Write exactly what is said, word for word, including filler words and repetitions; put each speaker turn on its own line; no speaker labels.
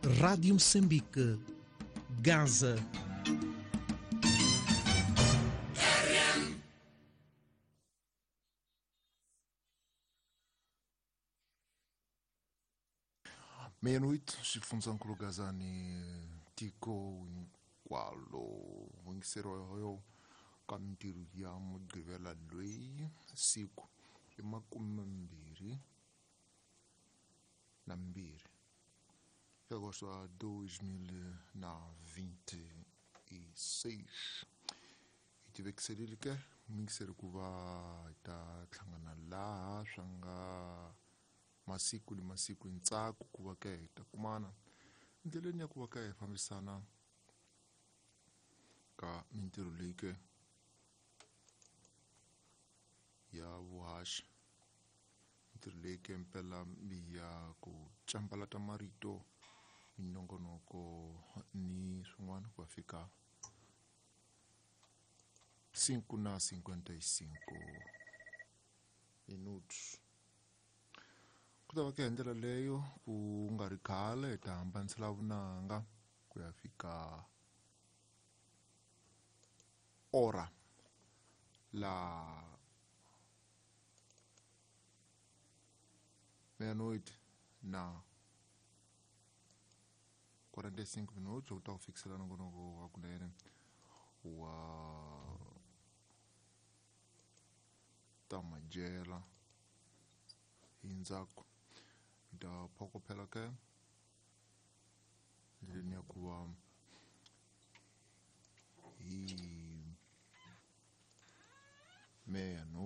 Rádio Moçambique, Gaza.
Meia-noite, xifundzhankulu Gazani tiko hinkwalo yingiseriwa ka mintirho ya Mugqivela loyi siku i makumembirhi na mbirhi agosto wa dois mil na vinte e seis. Hi tivekiserile ke muyingiseri ku va hi ta hlangana laha swa nga masiku ni masiku hi ntsako ku va ke hi ta kumana ndleleni ya ku va ka hi fambisana ka mintirho leyi ke ya vuhaxi, mintirho leyi ke mpela ya ku cambalata marito, minongonoko ni swin'wana ku ya fika cinco na cinquenta e cinco minutos. Ku ta va ke hi ndlela leyo ku nga ri khale hi ta hambanisela vunanga ku ya fika ora la meia-noite na quarenta e cinco minutos u ta ku fikisela nongonoko wa kunene wa ta madyela hi ndzhaku hi ta phokophela ke ndleleni ya ku va hi meia-noite.